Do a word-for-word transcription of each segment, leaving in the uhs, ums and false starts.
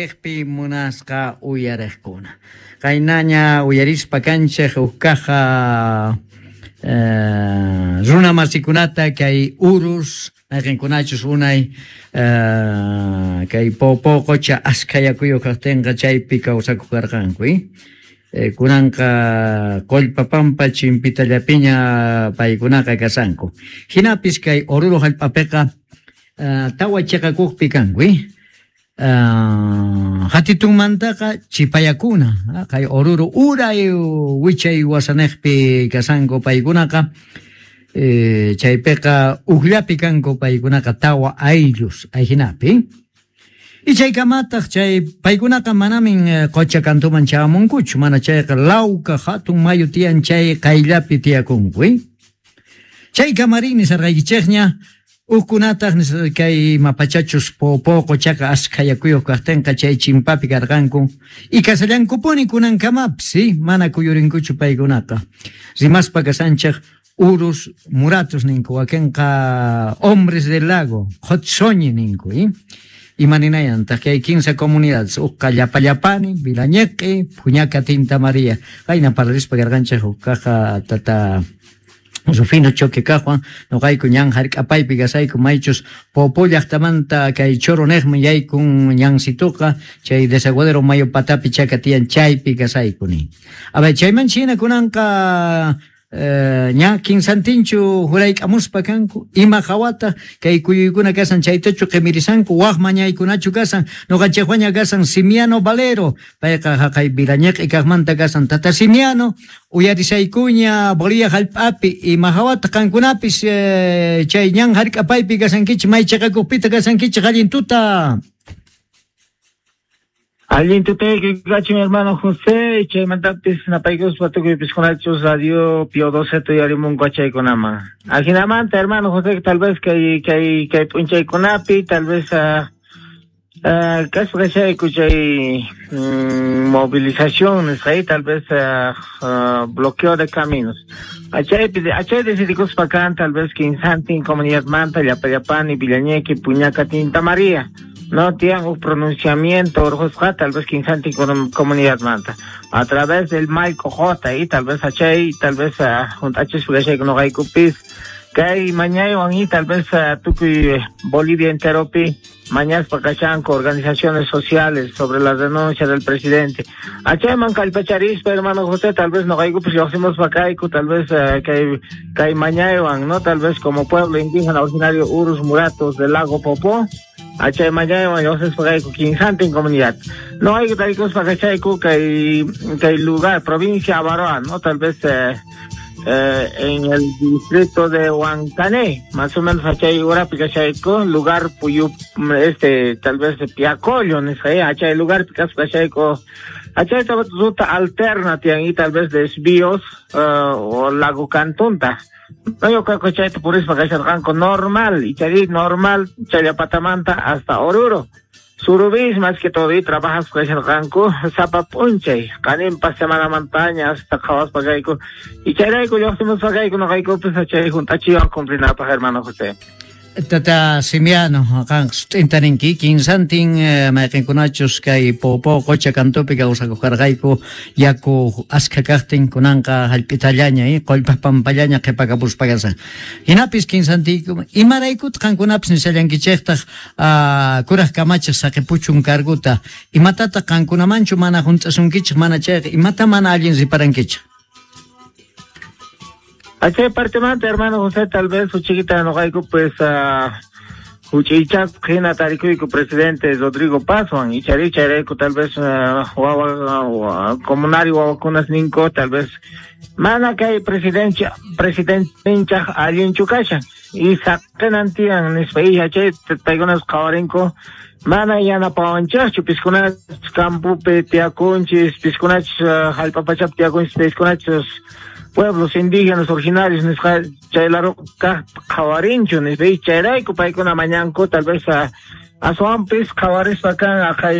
Chayniqpi munasqa uyariqkuna. Qaynaña uyarispa kanchej huk kaja eh, runa masikunata kay urus mayqinkunachus unay eh, kay Poopó qocha askha yakuyuq kaqtinqa chaypi kawsakuq karqanku. Eh, kunanqa Qollpa Pampa chimpitallapiña paykunaqa kasanku. Hinapis kay Oruro hallp'apiqa uh, tawa chiqakuqpi kanku. Uh, hatitunmantaqa chipayakuna kay Oruro uray wichay wasanejpi kasanku paykunaqa eh, chaypiqa ujllapi kanku paykunaqa tawa ayllus ayhinapi. Y chaykamataq chay paykunaqa manamin qocha kantuman chamunkuchu, mana chayqa Lauca hatun mayu tiyan chay qayllapi tiyakunku. Chay kamarin nisarqaykichikña Ukkunataq kay mapachachus Poopó qochaqa askha yakuyuq kaqtinqa chay chimpapi karqanku y kasallankupuni kunankamapis, ¿sí? Mana kuyurinkuchu paykunaqa. Rimaspa kasanchej urus muratus ninku, wakinqa hombres del lago, qhotsoñi ninku, ¿eh? Imaninayantaq kay kinsa comunidades, uqqa Llapallapani, Vilañequi, Puñaca, Tinta María. Qayna parlarispa karqanchej uqkaqa tata Rufino Choque kajwan, noqayku ñan hark'apaypi kasayku maychus Poopó llaqtamanta kay Choro neqman yaykun ñansituqa chay desaguadero mayo patapi chaka tiyan chaypi kasayku ni. A ver, chayman china kunanqa eh, ña kinsantinchu jurayk'amuspa kanku ima hawata kay kuyuykuna kasan chaytachu qimirisanku waq mañaykunachu kasan noqanchikwaña kasan Simiano Valero payqa haqay Vilañeq'i kaqmanta kasan. Tata Simiano, uyarisaykuña Bolivia hallp'api ima hawata qankunapis eh, chay ñan hark'apaypi kasankichik may chiqakuqpita kasankichik allin tuta. Allin tutayki kachun, hermano José, chaymantapis napaykuspa tukuy piskunachus Radio Pio doce tuyarimunku achaykunaman. Ajinamanta, hermano José, tal vez kay kay kay p'unchaykunapi, tal vez uh, uh, kaspa kachayku chay mm, movilización nisqay, tal vez uh, uh, bloqueo de caminos. Achaypi achay decidikuspa kan tal vez kinsantin comunidad manta, Llapallapani, Villañeque, Puñaca, Tinta María. No tienen un pronunciamiento orjosqa tal vez kinsantin comunidad manta a través del Maico J y tal vez achay tal vez juntachis noqaykupis kay mañaywan y tal vez tukuy Bolivia enteropi mañaspa kashanku organizaciones sociales sobre la denuncia del presidente. Achayman kallpacharispa, hermano José, tal vez noqaykupis lluqsimuspa kayku tal vez kay kay mañaywan, no, tal vez como pueblo indígena originario Urus Muratos del lago Popó achay mañaywan lluqsispa kayku kinsantin comunidad. No hay que tarikuspa kachayku kay kay lugar provincia Abaroa, no, tal vez eh, eh, en el distrito de Huancané, más o menos achay urapi kachayku, lugar Puyu, este, tal vez Piacollo, nisqa, achay lugar kaspa kachayku, achay ruta alterna tiyan y tal vez desvíos uh, o lago Cantunta. No, yo creo que chayta purispa kasharqanku normal, y chay normal, Challapatamanta hasta Oruro. Surubis más que todo y trabajas kasharqanku sapa p'unchay, qaninpa semana montaña hasta qhawaspa kayku. Y chayrayku lluqsimuspa kayku noqaykupis chay junt'achiwan cumplinapaq, hermano José. Tata Simiano, qan sut'inta ninki, kinsantin eh, mayqinkunachus kay Poopó qocha kantupi kawsakuq karqayku yaku askha kaqtin kunanqa hallp'itallaña eh, qollpa pampallaña qhipakapuspa kasan. Hinapis kinsantiyku imaraykutaq qankunapis nishallankichiktaq uh, kuraj kamachiq saqipuchun carguta imatataq qankunamanchu mana hunt'asunkichik mana chayqa imata mana allin riparankichik? Achay partemanta, hermano José, tal vez uchiquita noqayku pues uh, huch'ichasqa hina tarikuyku presidente Rodrigo Pazwan ichari chayrayku tal vez uh, wawa uh, comunario wawakunas ninku tal vez mana kay presidencia presidentinchaj allinchu kashan y saqinan tiyan nispa y achay paykunas qhawarinku mana yanapawanchikchu piskunachus campopi tiyakunchis piskunachus uh, hallp'a pachapi tiyakunchis piskunachus pueblos indígenas originarios nisqa chay lado kaq qhawarinchu nispa y chayrayku paykuna mañanku tal vez uh, aswanpis qhawarispa kan aqhay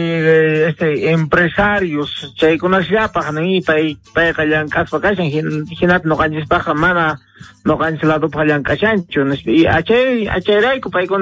este empresarios chaykunasllapaq ni pay payqa llank'aspa kashan hinata noqanchispaqqa mana noqanchis ladopaq llank'ashanchu nispa y achay achayrayku paykuna.